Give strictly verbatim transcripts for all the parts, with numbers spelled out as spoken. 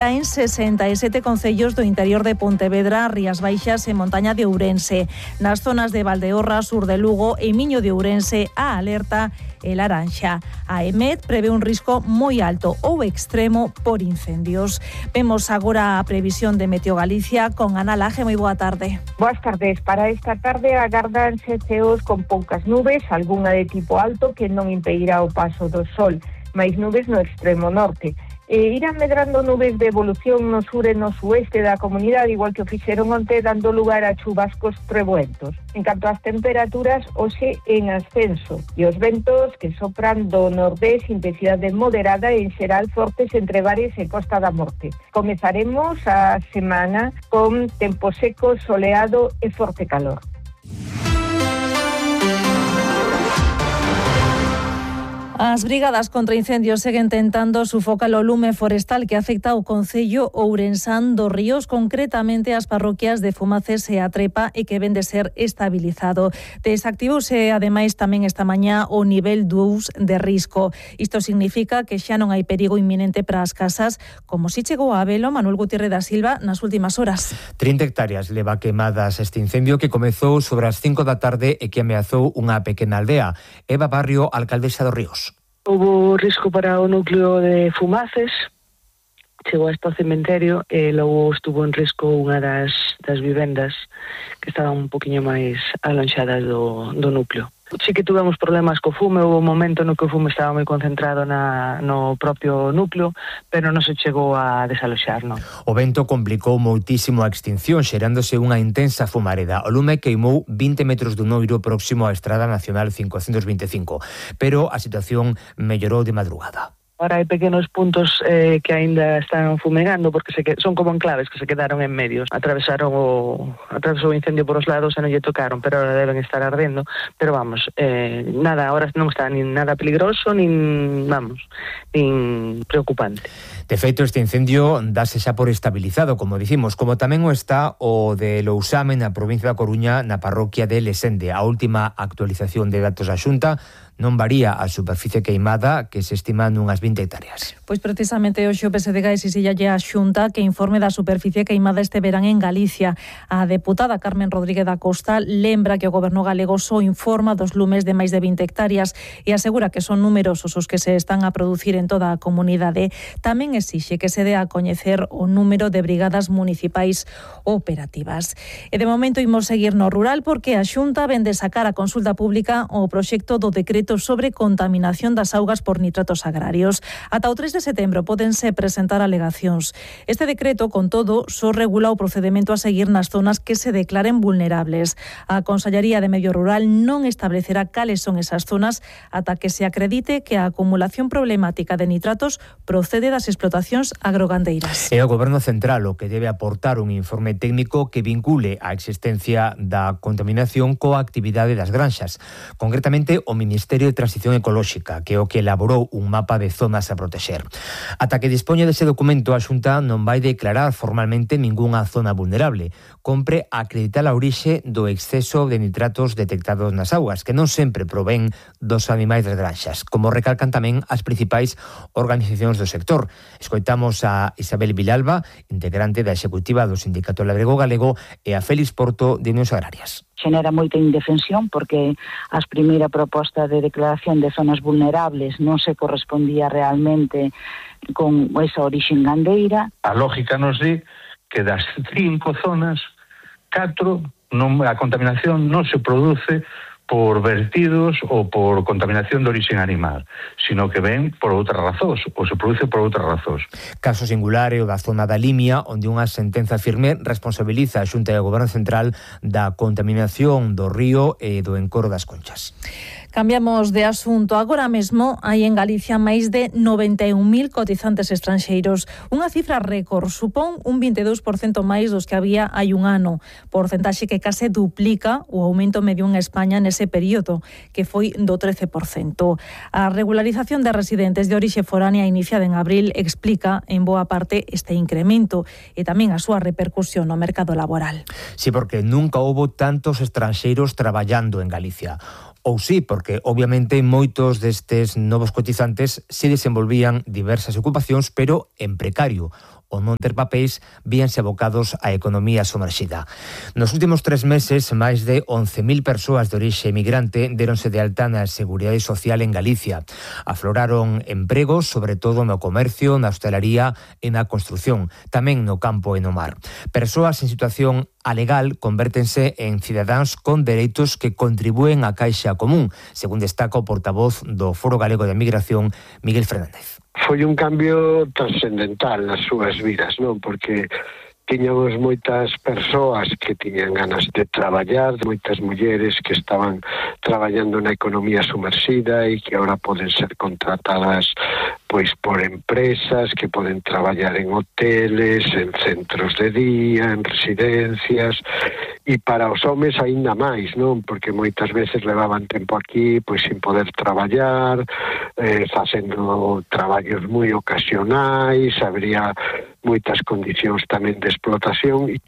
En sesenta e sete concellos do interior de Pontevedra, Rías Baixas e Montaña de Ourense. Nas zonas de Valdeorra, sur de Lugo e Miño de Ourense, a alerta é laranxa. A EMET prevé un risco moi alto ou extremo por incendios. Vemos agora a previsión de Meteo Galicia con Ana Laje. Moi boa tarde. Boas tardes. Para esta tarde agardanse ceos con poucas nubes, algunha de tipo alto que non impedirá o paso do sol, máis nubes no extremo norte. E irán medrando nubes de evolución no sur e no sueste da comunidade, igual que o fixeron onte, dando lugar a chubascos trebuentos. En canto ás temperaturas, hoxe en ascenso, e os ventos que sopran do nordés, intensidade moderada e en xeral fortes entre Bares e Costa da Morte. Comezaremos a semana con tempo seco, soleado e forte calor. As brigadas contra incendios seguen tentando sufocar o lume forestal que afecta ao concello ourensán dos Ríos, concretamente as parroquias de Fumaces e A Trepa, e que ven de ser estabilizado. Desactivouse ademais tamén esta mañá o nivel dous de risco. Isto significa que xa non hai perigo inminente para as casas, como si chegou a velo Manuel Gutiérrez da Silva nas últimas horas. trinta hectáreas leva quemadas este incendio que comezou sobre as cinco da tarde e que ameazou unha pequena aldea. Eva Barrio, alcaldesa dos Ríos. Houbo risco para o núcleo de Fumaces, chegou hasta o cementerio e logo estuvo en risco unha das, das vivendas que estaban un poquinho máis alonxadas do, do núcleo. Sí que tuvemos problemas co fume, houve un momento no que o fume estaba moi concentrado na, no propio núcleo, pero non se chegou a desaloxar, non. O vento complicou moitísimo a extinción, xerándose unha intensa fumareda. O lume queimou vinte metros dun noiro próximo á Estrada Nacional cincocentos vinte e cinco, pero a situación mellorou de madrugada. Ahora hai pequenos puntos eh, que aínda están fumegando porque se que, son como enclaves que se quedaron en medios. Atravesaron o atravesou o incendio por os lados e non lle tocaron, pero ahora deben estar ardendo. Pero vamos, eh, nada, ahora non está nin nada peligroso, nin, vamos, nin preocupante. De feito, este incendio dáse xa por estabilizado, como dicimos, como tamén o está o de Lousame na provincia da Coruña, na parroquia de Lesende. A última actualización de datos da Xunta non varía a superficie queimada, que se estima nunhas vinte hectáreas. Pois precisamente hoxe o P S D G exixíalle a Xunta que informe da superficie queimada este verán en Galicia. A deputada Carmen Rodríguez da Costa lembra que o goberno galego só informa dos lumes de máis de vinte hectáreas e asegura que son numerosos os que se están a producir en toda a comunidade. Tamén exixe que se dé a coñecer o número de brigadas municipais operativas. E de momento imos seguir no rural porque a Xunta vende sacar a consulta pública o proxecto do decreto sobre contaminación das augas por nitratos agrarios. Ata o tres de setembro pódense presentar alegacións. Este decreto, con todo, só regula o procedemento a seguir nas zonas que se declaren vulnerables. A Consellería de Medio Rural non establecerá cales son esas zonas ata que se acredite que a acumulación problemática de nitratos procede das explotacións agrogandeiras. É o Goberno Central o que debe aportar un informe técnico que vincule a existencia da contaminación coa actividade das granxas. Concretamente, o Ministerio de Transición Ecolóxica, que é o que elaborou un mapa de zonas a protexer. Ata que dispoña dese documento, a Xunta non vai declarar formalmente ningunha zona vulnerable. Compre acreditar a orixe do exceso de nitratos detectados nas augas, que non sempre provén dos animais das granxas, como recalcan tamén as principais organizacións do sector. Escoitamos a Isabel Vilalba, integrante da executiva do Sindicato Labrego Galego, e a Félix Porto, de Unións Agrarias. Xenera moita indefensión porque a primeira proposta de declaración de zonas vulnerables non se correspondía realmente con esa orixe gandeira. A lógica nos di que das cinco zonas, catro, non, a contaminación non se produce por vertidos ou por contaminación de orixe animal, sino que ven por outras razóns, ou se produce por outras razóns. Caso singular é o da zona da Limia, onde unha sentenza firme responsabiliza a Xunta e o Goberno Central da contaminación do río e do encoro das Conchas. Cambiamos de asunto. Agora mesmo hai en Galicia máis de noventa e un mil cotizantes estranxeiros. Unha cifra récord, supón un vinte e dous por cento máis dos que había hai un ano. Porcentaxe que case duplica o aumento medio en España nese período, que foi do trece por cento. A regularización de residentes de orixe foránea iniciada en abril explica en boa parte este incremento e tamén a súa repercusión no mercado laboral. Sí, porque nunca houbo tantos estranxeiros traballando en Galicia. Ou sí, porque obviamente moitos destes novos cotizantes se desenvolvían diversas ocupacións, pero en precario. o non ter papéis víanse abocados á economía somerxida. Nos últimos tres meses, máis de once mil persoas de orixe emigrante deronse de alta na Seguridade Social en Galicia. Afloraron empregos, sobre todo no comercio, na hostelería e na construción, tamén no campo e no mar. Persoas en situación alegal convértense en cidadáns con dereitos que contribúen á caixa común, según destaca o portavoz do Foro Galego de Migración, Miguel Fernández. Foi un cambio trascendental nas súas vidas, non? Porque tiñamos moitas persoas que tiñan ganas de traballar, moitas mulleres que estaban traballando na economía sumerxida e que agora poden ser contratadas pois por empresas que poden traballar en hoteles, en centros de día, en residencias, e para os homes aínda máis, non? Porque moitas veces levaban tempo aquí pois sin poder traballar, eh, facendo traballos moi ocasionais, habría moitas condicións tamén de explotación.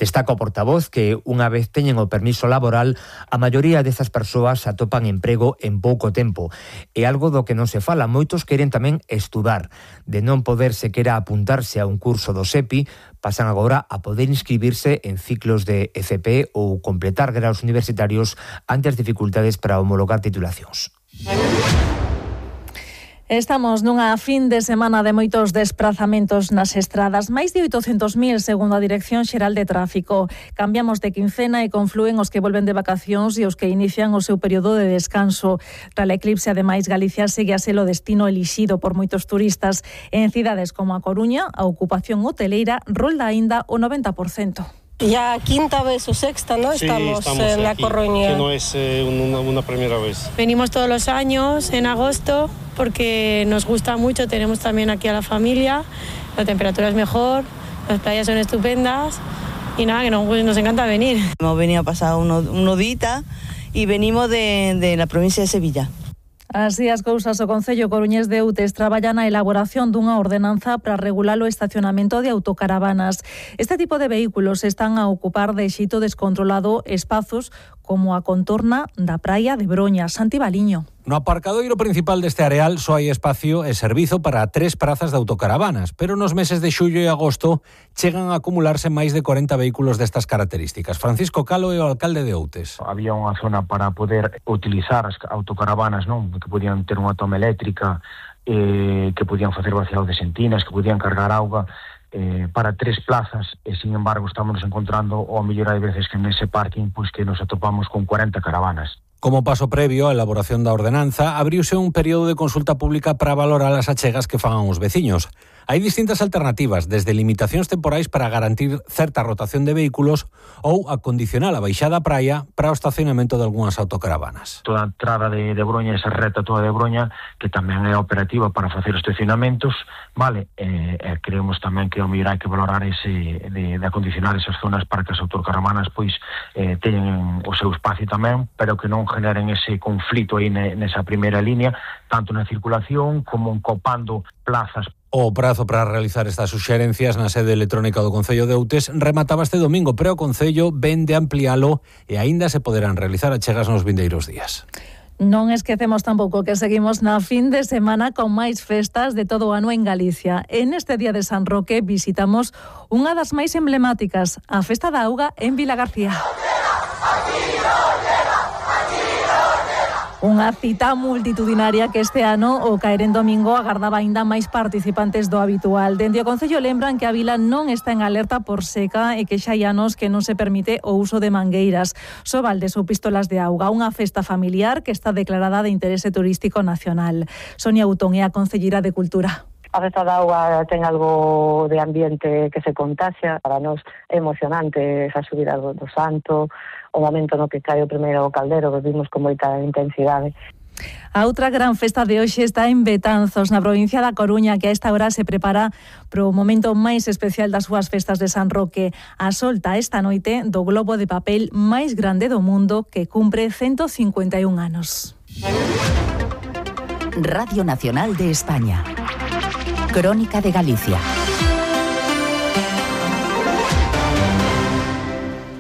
Destaca o portavoz que unha vez teñen o permiso laboral, a maioría destas persoas atopan emprego en pouco tempo. É algo do que non se fala. Moitos queren tamén estudar. De non poder sequera apuntarse a un curso do SEPI, pasan agora a poder inscribirse en ciclos de E C P ou completar graus universitarios ante as dificultades para homologar titulacións. Estamos nunha fin de semana de moitos desprazamentos nas estradas, máis de oitocentos mil segundo a Dirección Xeral de Tráfico. Cambiamos de quincena e conflúen os que volven de vacacións e os que inician o seu período de descanso. Tras a eclipse, ademais, Galicia segue a ser o destino elixido por moitos turistas. En cidades como a Coruña, a ocupación hoteleira rolda aínda o noventa por cento. Ya quinta vez o sexta, ¿no? Sí, estamos, estamos en la aquí, Coruña. Que no es eh, una, una primera vez. Venimos todos los años en agosto porque nos gusta mucho, tenemos también aquí a la familia, la temperatura es mejor, las playas son estupendas y nada, que nos, nos encanta venir. Hemos venido a pasar unos uno días y venimos de, de la provincia de Sevilla. Así as cousas, o Concello coruñés de Outes traballa na elaboración dunha ordenanza para regular o estacionamento de autocaravanas. Este tipo de vehículos están a ocupar de xeito descontrolado espazos como a contorna da praia de Broña. Santi Baliño. No aparcadoiro principal deste areal só hai espacio e servizo para tres prazas de autocaravanas, pero nos meses de xullo e agosto chegan a acumularse máis de corenta vehículos destas características. Francisco Calo é o alcalde de Outes. Había unha zona para poder utilizar as autocaravanas, non? Que podían ter unha toma eléctrica, eh, que podían facer vaciado de sentinas, que podían cargar auga, eh, para tres plazas, e sin embargo estamos encontrando, ou a mellor hai veces que nese parking, pois que nos atopamos con cuarenta caravanas. Como paso previo á elaboración da ordenanza, abriuse un período de consulta pública para valorar as achegas que fagan os veciños. Hai distintas alternativas, desde limitacións temporais para garantir certa rotación de vehículos ou a condicionar a baixada á praia para o estacionamento de algunhas autocaravanas. Toda a entrada de, de Broña, esa reta toda de Broña, que tamén é operativa para facer estacionamentos, vale, e, e creemos tamén que ao mellor hai que valorar ese, de, de acondicionar esas zonas para que as autocaravanas pois eh, teñen o seu espacio tamén, pero que non generen ese conflito aí nesa primeira línea, tanto na circulación como copando plazas. O prazo para realizar estas suxerencias na sede electrónica do Concello de Outes remataba este domingo, pero o Concello ven de amplialo e aínda se poderán realizar achegas nos vindeiros días. Non esquecemos tampouco que seguimos na fin de semana con máis festas de todo o ano en Galicia. En este día de San Roque visitamos unha das máis emblemáticas, a Festa da Auga en Vilagarcía. Unha cita multitudinaria que este ano, o caer en domingo, agardaba aínda máis participantes do habitual. Dende o Concello lembran que a vila non está en alerta por seca e que xa hai anos que non se permite o uso de mangueiras, só baldes ou pistolas de auga. Unha festa familiar que está declarada de interese turístico nacional. Sonia Utón é a concelleira de Cultura. A Festa da Auga ten algo de ambiente que se contaxia. Para nós é emocionante esa subida do, do santo, o momento no que cae o primeiro caldero, que vimos con moita intensidade. A outra gran festa de hoxe está en Betanzos, na provincia da Coruña, que a esta hora se prepara pro momento máis especial das súas festas de San Roque. A solta esta noite do globo de papel máis grande do mundo, que cumpre ciento cincuenta y un anos. Radio Nacional de España. Crónica de Galicia.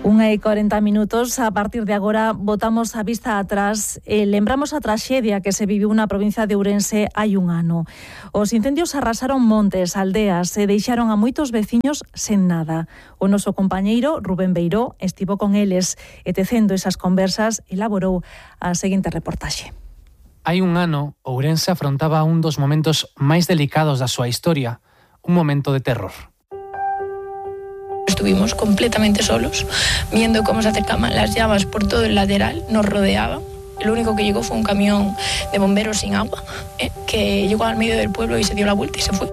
Unha unha e corenta minutos. A partir de agora botamos a vista atrás e lembramos a traxedia que se viviu na provincia de Ourense hai un ano. Os incendios arrasaron montes, aldeas e deixaron a moitos veciños sen nada. O noso compañeiro Rubén Beiró estivo con eles e tecendo esas conversas elaborou a seguinte reportaxe. Hai un ano, Ourense afrontaba un dos momentos máis delicados da súa historia, un momento de terror. Estuvimos completamente solos, viendo cómo se acercaban las llamas por todo el lateral, nos rodeaban. Lo único que llegó fue un camión de bomberos sin agua, eh, que llegó al medio del pueblo y se dio la vuelta y se fue.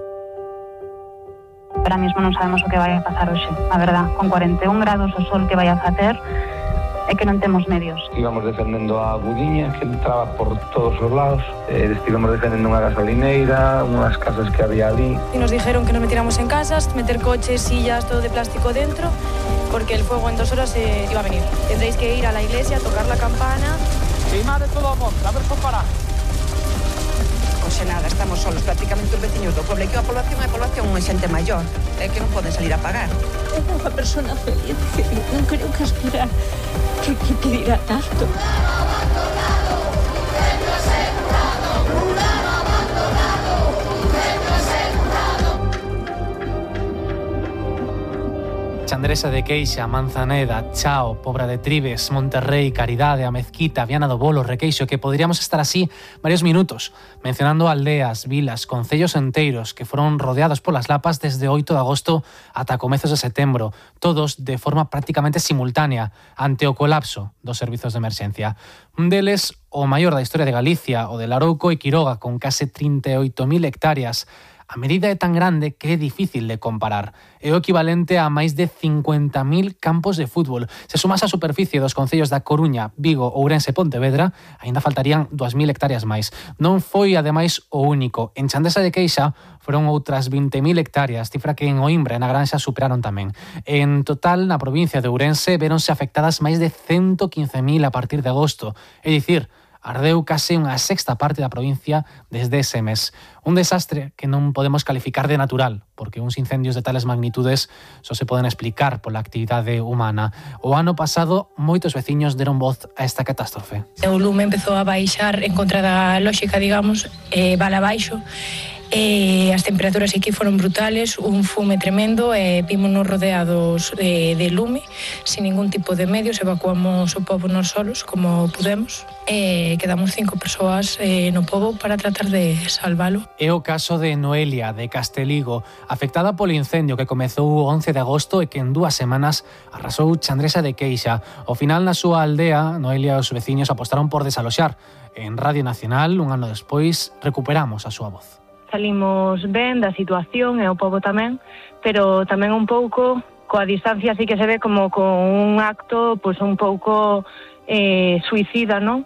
Ahora mismo non sabemos o que vai a pasar hoxe, a verdad, con cuarenta e un grados o sol que vai a facer, é que non temos medios. Íbamos defendendo a agudiña que entraba por todos os lados, eh, estivemos defendendo unha gasolineira, unhas casas que había ali. Y nos dijeron que nos metiéramos en casas, meter coches, sillas, todo de plástico dentro, porque el fuego en dos horas eh, iba a venir. Tendréis que ir a la iglesia, tocar la campana. Sí, madre, todo a monte, a ver, para. Oxe nada, estamos solos, prácticamente os veciños do pueblo, e que a población é a población unha xente maior, é que non poden salir a pagar. É unha persona feliz, que non creo que aspirar que, que pedirá tanto. Chandresa de Queixa, Manzaneda, Chao, Pobra de Tribes, Monterrey, Caridade, A Mezquita, Viana do Bolo, Requeixo, que poderíamos estar así varios minutos, mencionando aldeas, vilas, concellos enteiros que foron rodeados polas lapas desde oito de agosto ata comezos de setembro, todos de forma prácticamente simultánea ante o colapso dos servizos de emerxencia. Un deles, o maior da historia de Galicia, o de Larouco e Quiroga, con case trinta e oito mil hectáreas. A medida é tan grande que é difícil de comparar. É o equivalente a máis de cincuenta mil campos de fútbol. Se sumas a superficie dos concellos da Coruña, Vigo, Ourense e Pontevedra, aínda faltarían dúas mil hectáreas máis. Non foi, ademais, o único. En Chandresa de Queixa foron outras vinte mil hectáreas, cifra que en Oimbra e na Granxa superaron tamén. En total, na provincia de Ourense, véronse afectadas máis de ciento quince mil a partir de agosto. É dicir, ardeu case unha sexta parte da provincia desde ese mes. Un desastre que non podemos calificar de natural, porque uns incendios de tales magnitudes só se poden explicar pola actividade humana. O ano pasado, moitos veciños deron voz a esta catástrofe. O lume empezou a baixar en contra da lógica, digamos, e bala abaixo. E as temperaturas aquí foron brutales, un fume tremendo e vímonos rodeados de, de lume, sin ningún tipo de medios, evacuamos o pobo nos solos como pudemos e quedamos cinco persoas eh, no pobo para tratar de salvalo. É o caso de Noelia, de Casteligo, afectada polo incendio que comezou o once de agosto e que en dúas semanas arrasou Chandresa de Queixa. Ao final, na súa aldea, Noelia e os veciños apostaron por desaloxar. En Radio Nacional, un ano despois, recuperamos a súa voz. Salimos ben da situación e o pobo tamén, pero tamén un pouco coa distancia así que se ve como con un acto pois un pouco eh, suicida, non?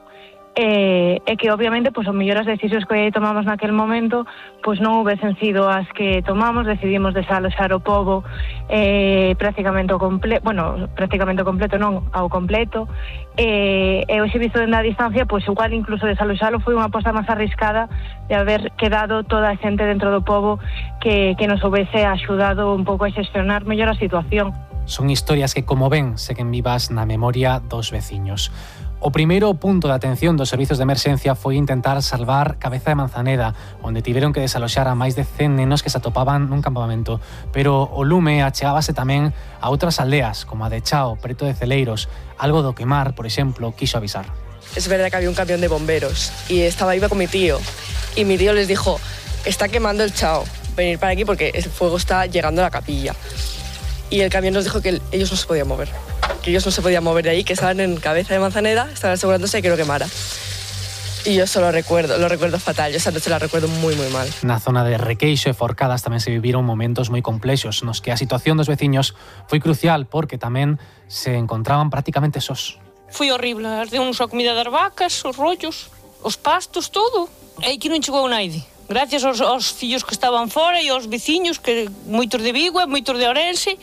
E, e que obviamente pois, o mellor as decisións que tomamos naquel momento pois non houvesen sido as que tomamos, decidimos desaloxar o pobo eh, prácticamente o completo, bueno, prácticamente o completo non, ao completo, e, e hoxe visto dende a distancia, pois igual incluso desaloxalo foi unha aposta máis arriscada de haber quedado toda a xente dentro do pobo que, que nos houvese axudado un pouco a xestionar mellor a situación. Son historias que, como ven, seguen vivas na memoria dos veciños. O primeiro punto de atención dos servizos de emerxencia foi intentar salvar Cabeza de Manzaneda, onde tiveron que desaloxar a máis de cen nenos que se atopaban nun campamento. Pero o lume achegábase tamén a outras aldeas, como a de Chao, preto de Celeiros. Algo do que Mar, por exemplo, quiso avisar. Es verdad que había un camión de bomberos y estaba iba con mi tío. Y mi tío les dijo, está quemando el Chao, venir para aquí porque el fuego está llegando a la capilla. Y el camión nos dijo que ellos no se podían mover, que ellos no se podían mover de ahí, que estaban en Cabeza de Manzaneda, estaban asegurándose de que no quemara. Y yo solo recuerdo, lo recuerdo fatal, yo esa noche la recuerdo muy, muy mal. Na zona de Requeixo e Forcadas tamén se viviron momentos moi complexos, nos que a situación dos veciños foi crucial porque tamén se encontraban prácticamente sós. Foi horrible, ardeunos a comida das vacas, os rollos, os pastos, todo. E aquí non chegou naide. Gracias aos, aos fillos que estaban fora e aos veciños, que moitos de Vigo e moitos de Ourense,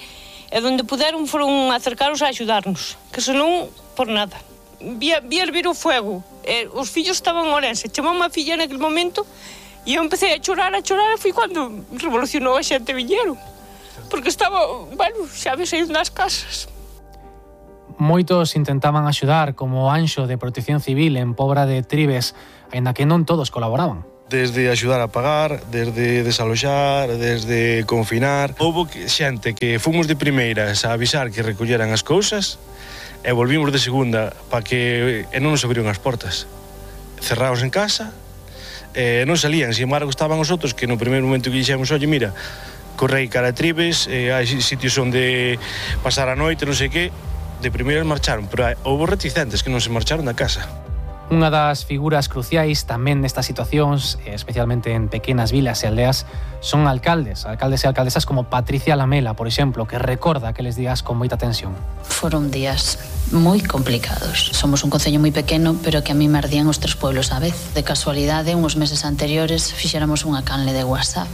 e donde puderon foron acercaros a axudarnos, que senón, por nada. Vía, vía hervir o fuego, e os fillos estaban en Ourense, chamou unha filla naquele momento, e eu empecé a chorar, a chorar, e foi cando revolucionou a xente viñeron, porque estaba, bueno, xa me saído das casas. Moitos intentaban axudar, como o Anxo de Protección Civil en Pobra de Tribes, aínda que non todos colaboraban. Desde axudar a pagar, desde desaloxar, desde confinar. Houbo xente que fomos de primeiras a avisar que recolleran as cousas e volvimos de segunda para que e non nos abriron as portas. Cerrados en casa, e non salían. Sin embargo, estaban os outros que no primeiro momento que dixemos, oye, mira, correi cara a Tribes, eh, hai sitios onde pasar a noite, non sei que, de primeiras marcharon, pero houve reticentes que non se marcharon da casa. Unha das figuras cruciais tamén nestas situacións, especialmente en pequenas vilas e aldeas, son alcaldes, alcaldes e alcaldesas como Patricia Lamela, por exemplo, que recorda aqueles días con moita tensión. Foron días moi complicados. Somos un concello moi pequeno, pero que a mí me ardían os tres pueblos á vez. De casualidade, uns meses anteriores, fixéramos unha canle de WhatsApp,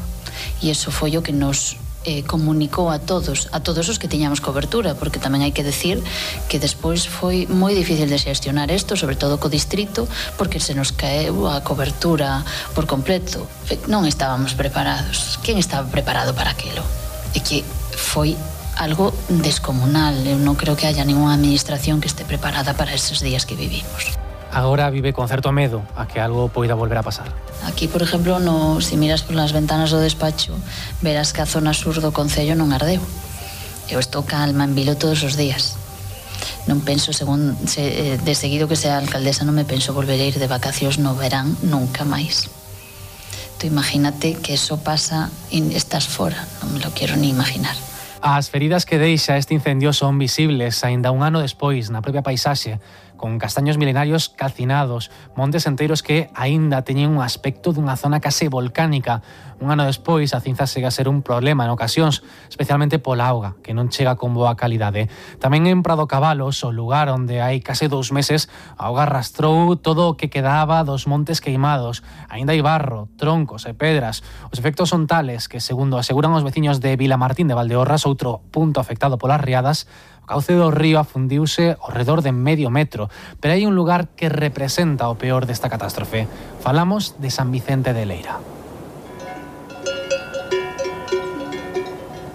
e iso foi o que nos Eh, comunicou a todos, a todos os que tiñamos cobertura, porque tamén hai que decir que despois foi moi difícil de xestionar isto, sobre todo co distrito, porque se nos caeu a cobertura por completo. Non estábamos preparados. Quen estaba preparado para aquilo? E que foi algo descomunal. Eu non creo que haya ninguna administración que este preparada para esos días que vivimos. Agora vive con certo medo a que algo poida volver a pasar. Aquí, por exemplo, no, si miras polas ventanas do despacho, verás que a zona sur do concello non ardeu. Eu estou calma en Vilo todos os días. Non penso, según se, de seguido que sea alcaldesa, non me penso volver a ir de vacacións no verán nunca máis. Tú imagínate que eso pasa e estás fora, non me lo quero ni imaginar. As feridas que deixa este incendio son visibles aínda un ano despois na propia paisaxe, con castaños milenarios calcinados, montes enteiros que aínda teñen un aspecto dunha zona case volcánica. Un ano despois, a cinza segue a ser un problema en ocasións, especialmente pola auga, que non chega con boa calidade. Tamén en Prado Cabalos, o lugar onde hai case dous meses, a auga arrastrou todo o que quedaba dos montes queimados. Aínda hai barro, troncos e pedras. Os efectos son tales que, segundo aseguran os veciños de Vilamartín de Valdeorras, outro punto afectado polas riadas, o cauce do río afundiuse ao redor de medio metro, pero hai un lugar que representa o peor desta catástrofe. Falamos de San Vicente de Leira.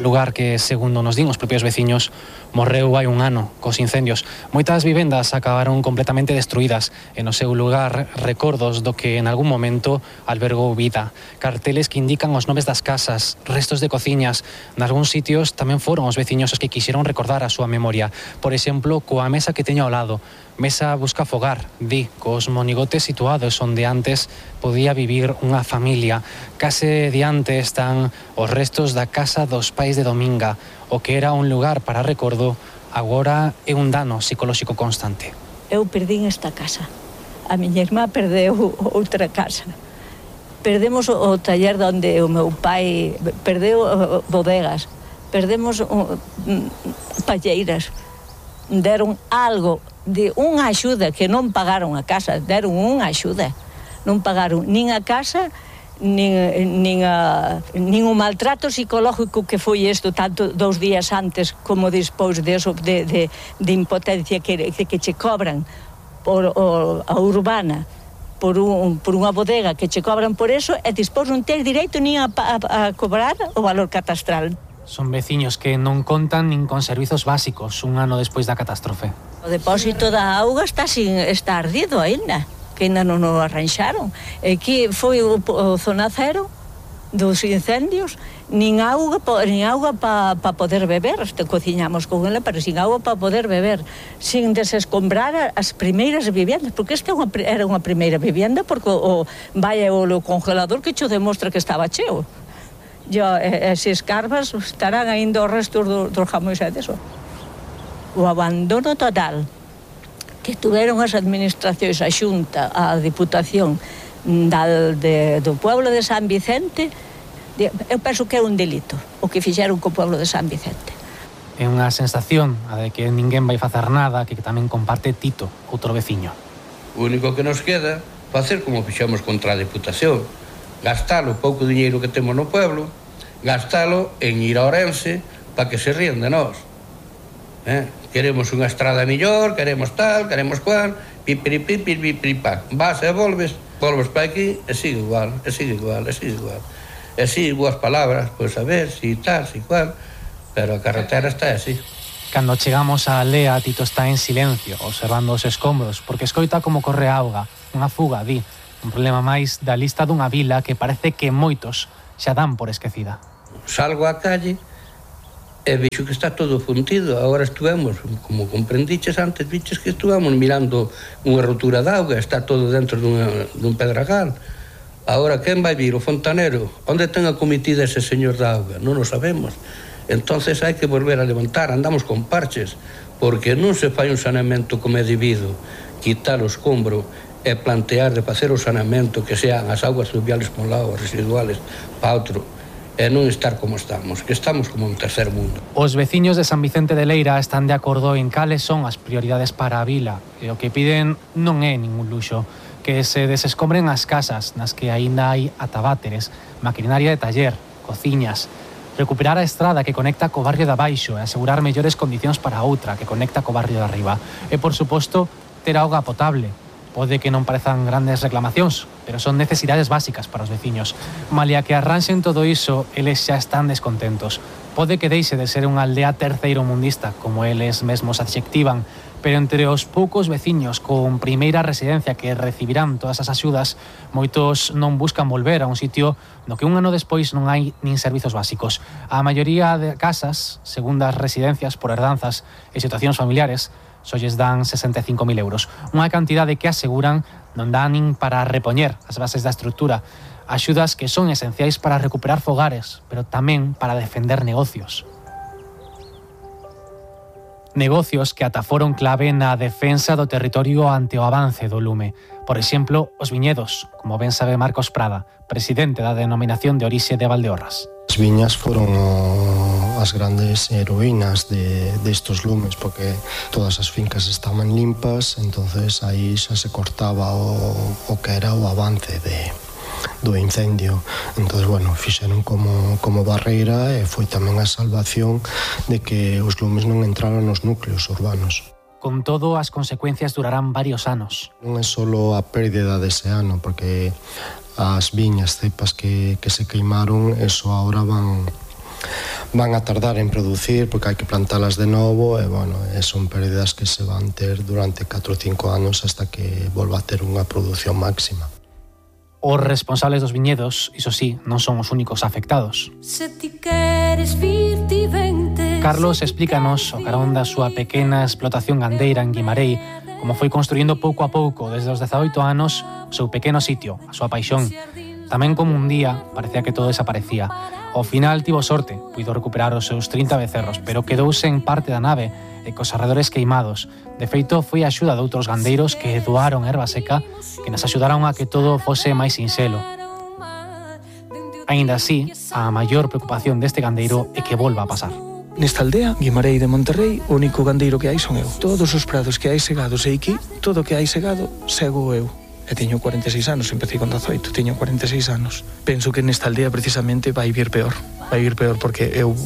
Lugar que, segundo nos din os propios veciños, morreu hai un ano cos incendios. Moitas vivendas acabaron completamente destruídas e no seu lugar recordos do que en algún momento albergou vida. Carteles que indican os nomes das casas, restos de cociñas. Nalgúns sitios tamén foron os veciños os que quixeron recordar a súa memoria. Por exemplo, coa mesa que teño ao lado. Mesa busca fogar, di, cos monigotes situados onde antes podía vivir unha familia. Case diante están os restos da casa dos pais de Dominga. O que era un lugar para recordo, agora é un dano psicolóxico constante. Eu perdín esta casa. A miña irmá perdeu outra casa. Perdemos o taller onde o meu pai perdeu bodegas. Perdemos palleiras. Deron algo de unha axuda que non pagaron a casa, deron unha axuda. Non pagaron nin a casa, nin, nin, a, nin o maltrato psicológico que foi isto, tanto dous días antes como despois de, eso, de, de, de impotencia que, que, que che cobran por o, a urbana, por, un, por unha bodega que che cobran por eso, e despois non ter direito nin a, a, a cobrar o valor catastral. Son veciños que non contan nin con servizos básicos un ano despois da catástrofe. O depósito da auga está, sin, está ardido aínda, que ainda non o arranxaron. E que foi o, o zona cero dos incendios, nin auga, nin auga para pa poder beber. Te cociñamos con ela, pero sin auga para poder beber, sin desescombrar as primeiras viviendas, porque esta era unha primeira vivienda, porque o, o vai o congelador que cho demostra que estaba cheo. Yo, esas carvas estarán ainda os restos do, dos jamóns e deso. O abandono total que tuveron as administracións, a Xunta, a Diputación da, de, do pueblo de San Vicente, eu penso que é un delito o que fixeron co pueblo de San Vicente. É unha sensación a de que ninguén vai facer nada, que tamén comparte Tito, outro veciño. O único que nos queda facer como fixamos contra a Diputación, gastalo o pouco diñeiro que temos no pueblo, gastalo en ir a Ourense para que se rían de nós. Eh? Queremos unha estrada millor, queremos tal, queremos cual, pipiripipiripiripac. Vas e volves, volves para aquí e sigue igual, e sigue igual, e sigue igual. E sigue igual palabras, pois a ver, si tal, si cual, pero a carretera está así. Cando chegamos á aldea, Tito está en silencio, observando os escombros, porque escoita como corre a auga, unha fuga, di, un problema máis da lista dunha vila que parece que moitos xa dan por esquecida. Salgo á calle e vexo que está todo fundido. Agora estuvemos, como comprendiches antes, viches que estuvamos mirando unha rotura de auga, está todo dentro dunha, dun pedragal. Agora, quen vai vir? O fontanero? Onde ten a comitida ese señor da auga? Non o sabemos. Entonces hai que volver a levantar, andamos con parches, porque non se fai un saneamento como é debido, quitar o escombro e plantear de facer o saneamento que sean as augas fluviales por un lado, residuales para outro, e non estar como estamos, que estamos como un tercer mundo. Os veciños de San Vicente de Leira están de acordo en cales son as prioridades para a vila, e o que piden non é ningún luxo, que se desescombren as casas nas que aínda hai ataváteres, maquinaria de taller, cociñas, recuperar a estrada que conecta co barrio de abaixo e asegurar mellores condicións para a outra que conecta co barrio de arriba. E, por suposto, ter auga potable. Pode que non parezan grandes reclamacións, pero son necesidades básicas para os veciños. Malia que arranxen todo iso, eles xa están descontentos. Pode que deixe de ser unha aldea terceiro mundista, como eles mesmos adxectivan, pero entre os poucos veciños con primeira residencia que recibirán todas as axudas, moitos non buscan volver a un sitio no que un ano despois non hai nin servizos básicos. A maioría de casas, segundas residencias por herdanzas e situacións familiares, só lles dan sesenta e cinco mil euros, unha cantidade que aseguran non dá nin para repoñer as bases da estrutura, axudas que son esenciais para recuperar fogares, pero tamén para defender negocios. Negocios que ata foron clave na defensa do territorio ante o avance do lume. Por exemplo, os viñedos, como ben sabe Marcos Prada, presidente da denominación de orixe de Valdeorras. As viñas foron o, as grandes heroínas de, de estos lumes, porque todas as fincas estaban limpas, entonces aí xa se cortaba o, o que era o avance de do incendio. Entonces, bueno, fixeron como, como barreira e foi tamén a salvación de que os lumes non entraran nos núcleos urbanos. Con todo, as consecuencias durarán varios anos. Non é só a pérdida dese ano, porque as viñas, cepas que, que se queimaron, eso agora van van a tardar en producir, porque hai que plantalas de novo, e, bueno, e son pérdidas que se van ter durante catro ou cinco anos hasta que volva a ter unha produción máxima. Os responsables dos viñedos, iso sí, non son os únicos afectados. Carlos explícanos, o carón da súa pequena explotación gandeira en Guimarei, como foi construindo pouco a pouco, desde os dezaoito anos, o seu pequeno sitio, a súa paixón. Tamén como un día parecía que todo desaparecía. Ao final tivo sorte, puido recuperar os seus trinta becerros, pero quedouse en parte da nave e cos arredores queimados. De feito, foi a axuda de outros gandeiros que doaron erva seca que nos axudaron a que todo fose máis sinxelo. Aínda así, a maior preocupación deste gandeiro é que volva a pasar. Nesta aldea, Guimarei de Monterrei, o único gandeiro que hai son eu. Todos os prados que hai segados e aquí, todo o que hai segado, sego eu. E teño cuarenta e seis anos, empecé con dezaoito, teño cuarenta e seis anos. Penso que nesta aldea precisamente vai vir peor. Vai vir peor porque eu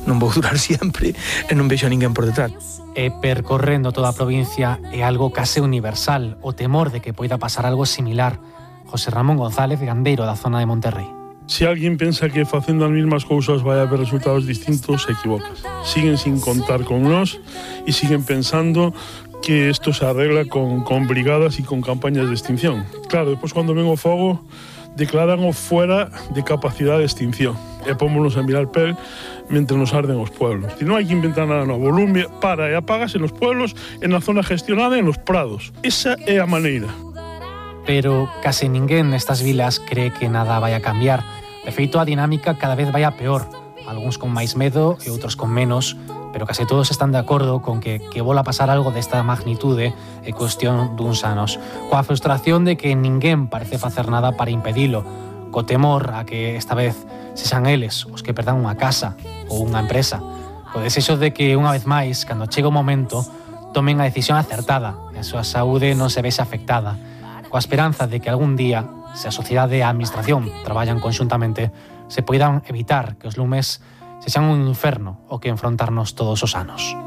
non vou durar sempre e non vexo a ninguén por detrás. E percorrendo toda a provincia é algo case universal, o temor de que poida pasar algo similar. José Ramón González, gandeiro da zona de Monterrei. Se alguén pensa que facendo as mesmas cousas vai haber resultados distintos, se equivocas. Siguen sin contar con nós e siguen pensando que isto se arregla con, con brigadas e con campañas de extinción. Claro, despois cando ven o fogo, declaran o fuera de capacidade de extinción e pómonos a mirar pel mentre nos arden os pueblos. E non hai que inventar nada novo. O lume para e apágase nos pueblos, en a zona gestionada e nos prados. Esa é a maneira. Pero case ninguén nestas vilas cree que nada vai a cambiar. De feito, a dinámica cada vez vai a peor. Algúns con máis medo e outros con menos, pero case todos están de acordo con que, que vola a pasar algo desta magnitude e cuestión duns anos, coa frustración de que ninguén parece facer nada para impedilo, co temor a que esta vez sexan eles os que perdan unha casa ou unha empresa, co desexo de que unha vez máis, cando chega o momento, tomen a decisión acertada e a súa saúde non se vexe afectada, coa esperanza de que algún día, se a sociedade e a administración traballan conxuntamente, se poidan evitar que os lumes sexan un inferno o que enfrontarnos todos os anos.